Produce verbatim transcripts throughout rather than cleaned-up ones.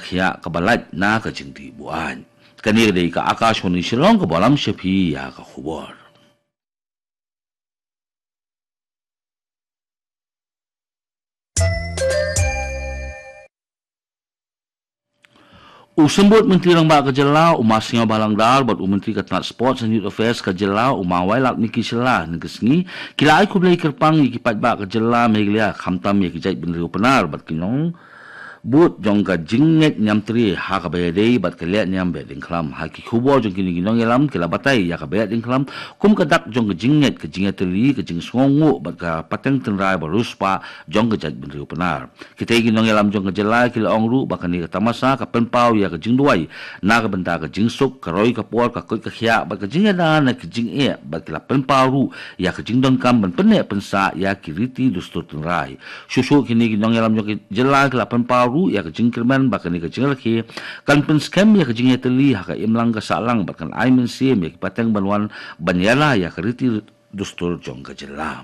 khiah kaba lait na ka jingdih buaid. Kane ka dei ka Akashvani Shillong kaba lam sha phi ïa ka khubor. U Symbud Myntri Rangbah ka Jylla, u Ma Sniawbhalang Dhar, bad u Myntri ka tnat Sports and Youth Affairs ka Jylla, u Ma Wailadmiki Shylla, hynne ka sngi ki la ai khublei kyrpang ïa ki paidbah ka Jylla Meghalaya, khamtam ïa ki jaitbynriew Pnar bad ki nongbud jong ka jingngeit niamtre ha kaba ïadei bad ka lehniam behdeiñkhlam. Ha ki khubor jong kine ki nongïalam ki la batai ïa ka behdeiñkhlam kum ka dak jong ka jingngeit, ka jingïatylli, ka jingsngewnguh bad ka pateng tynrai ba riewspah jong ka jaitbynriew Pnar. Kitei ki nongïalam jong ka jylla ki la ong ruh ba kane ka tamasa ka pynpaw ïa ka jingduwai na ka bynta ka jingsuk, ka roi ka por, ka koit ka khiah bad ka jingïada na ki jingeh, bad ki la pynpaw ruh ïa ka jingdonkam ban pynneh pynsah ïa ki riti dustur tynrai. Shuh shuh kine ki nongïalam jong ka jylla ki la pynpaw ruh ïa ka jingkyrmen ba kane ka jingrakhe kan pynskhem ïa ka jingïatylli ha ka imlang ka sahlang bad kan ai mynsiem ïa ki pateng ban wan ban ïada ïa ka riti dustur jong ka jylla.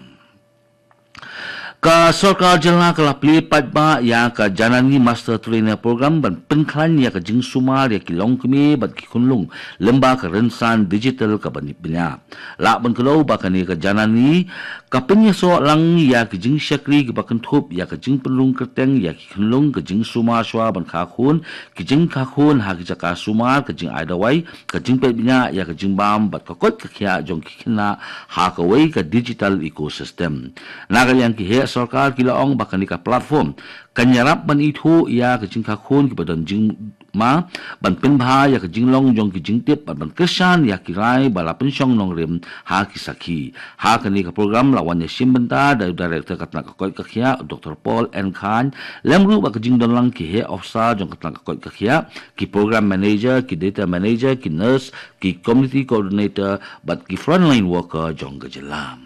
Ka sorkar jylla ka la plie paidbah ïa ka Janani Master Trainer Program ban pynkhlaiñ ïa ka jingsumar ïa ki longkmie bad ki khunlung lyngba ka rynsan digital kaba bniah. Lah ban kdew ba kane ka Janani ka pynïasoh lang ïa ki jingshakri kiba kynthup ïa ka jingpynrung kyrteng ïa ki khunlung, ka jingsumar shuwa ban kha khun, ki jingkha khun ha ki jaka sumar, ka jingai dawai, ka jingpeit bniah ïa ka jingbam bad ka koit ka khiah jong ki khynnah ha kawei ka digital ecosystem. Na ka liang ki heh sorkar ki la ong ba kane ka platform kan ïarap ban ithuh ïa ka jingkha khun kiba don jingma, ban pynbha ïa ka jinglong jong ki jingtip bad ban kyrshan ïa ki rai ba la pynshong nongrim ha ki sakhi. Ha kane ka program la wan ïashim bynta da u Director ka tnat ka koit ka khiah, Doctor Paul N Khan, lem ruh bad ka jingdon lang ki heh officer jong ka tnat ka koit ka khiah, ki program manager, ki data manager, ki nurse, ki community coordinator bad ki frontline worker jong ka jylla.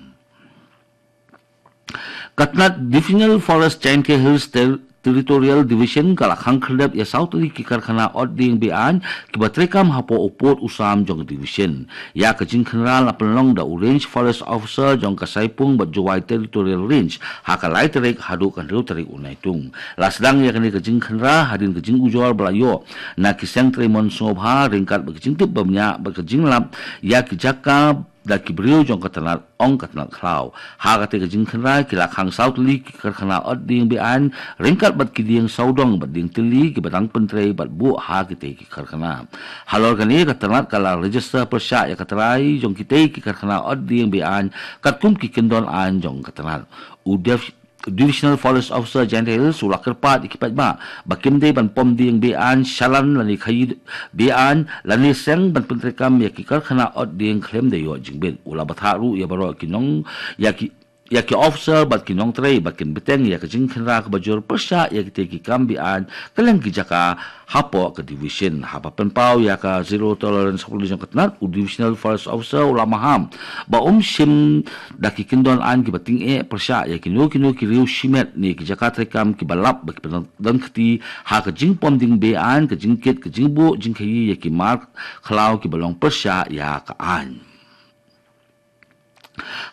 Ka tnat Divisional Forest Jaintia Hills Ter-, Territorial Division ka la khang khyrdep ïa saw tylli ki karkhana ot dieng be-aiñ kiba treikam hapoh u pud u sam jong ka division. Ïa ka jingkhynra la pynlong da u Range Forest Officer jong ka Saipung bad Jowai Territorial Range ha ka lai tarik haduh ka hynriew tarik u Naitung. La sdang ïa kane ka jingkhynra hadien ka jingujor ba la ïoh na ki seng trei mon sngewbha ryngkat bad ka jingtip bymñiah bad ka jinglap ïa ki jaka da ki briew jong ka tnat, ong ka tnat khlaw. Ha katei ka jingkhynra ki la khang saw tylli ki karkhana ot dieng be-aiñ ryngkat bad ki dieng sawdong bad dieng tylli kiba dang pyntrei bad buh ha kitei ki karkhana. Halor kane ka tnat ka la register pyrshah ïa ka trai jong kitei ki karkhana ot dieng be-aiñ katkum ki kyndon aiñ jong ka tnat. U Dev Divisional Forest Officer Jaintia Hills u la kyrpad ïa ki paidbah ba kim dei ban pom dieng be-aiñ shalan lane khaïi be-aiñ lane seng ban pyntreikam ïa ki karkhana ot dieng khlem da ïoh jingbit. U la bthah ruh ïa baroh ki nong, ïa ki, ïa ki officer bad ki nongtrei ba kin bteng ïa ka jingkhynra kaba jur pyrshah ïa kitei ki kam be-aiñ kylleng ki jaka hapoh ka division. Haba pynpaw ïa ka zero tolerance policy jong ka tnat, u Divisional Forest Officer u la maham ba um shim da ki kyndon aiñ kiba tyngeh pyrshah ïa kino kino ki riew shimet ne ki jaka treikam kiba lap ba kiba don, don kti ha ka jingpom dieng be-aiñ, ka jingkit, ka jingbuh jingkhaïi ïa ki mar khlaw kiba long pyrshah ïa ka aiñ.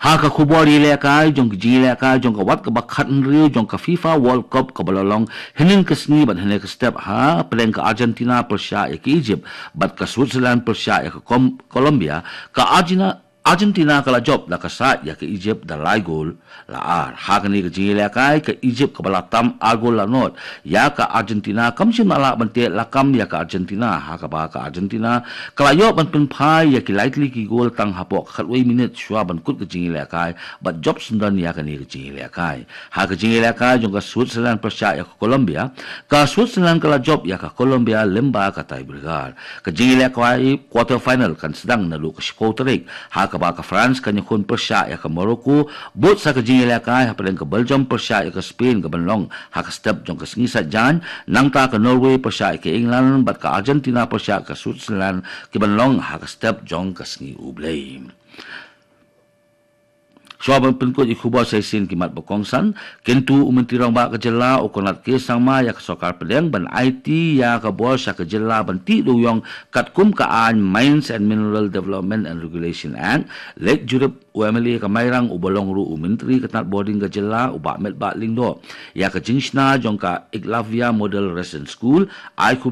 Ha ka khubor ïalehkai jong ka jingïalehkai jong ka wat kaba khathynriew jong ka FIFA World Cup kaba la long hynnin ka sngi bad hynne ka step hapdeng ka Argentina pyrshah ïa ka Egypt bad ka Switzerland pyrshah ïa ka Kom-, Colombia, ka Argina-, Argentina ka la jop da ka sait ïa ka Egypt da lai gol la ar. Ha kane ka jingïalehkai ka Egypt kaba la tam ar gol la nod ïa ka Argentina kam shym la lah ban teh lakam ïa ka Argentina, ha kaba ka Argentina ka la ïoh ban pynphai ïa ki lai tylli ki gol tang hapoh ka khatwei minit shuwa ban kut ka jingïalehkai bad jop syndon ïa kane ka jingïalehkai. Ha ka jingïalehkai jong ka Switzerland pyrshah ïa ka Colombia, ka Switzerland ka la jop ïa ka Colombia lyngba ka tiebreaker. Ka jingïalehkai quarter final kan sdang naduh ka shiphew tarik, ha kaba ka France kan ïakhun pyrshah ïa ka Morocco, bud sa ka jingïalehkai hapdeng ka Belgium pyrshah ïa ka Spain ka ban long ha ka step jong ka sngi Saitjaiñ, nangta ka Norway pyrshah ïa ka England bad ka Argentina pyrshah ïa ka Switzerland ki ban long ha ka step jong ka sngi U Blei. Shuwa ban pynkut ïa ki khubor sa shisien ki mat ba kongsan, kyntu u Myntri Rangbah ka jylla u Conrad K Sangma ïa ka sorkar pdeng ban aiti ïa ka bor sha ka jylla ban tih dewiong katkum ka aiñ Mines and Mineral Development and Regulation Act. Leit jurip u M L A ka Mairang uba long ruh u Myntri ka tnat bording ka jylla u Bah Metbah Lyngdoh ïa ka jingshna jong ka Eklavya Model Residential School, ai khublei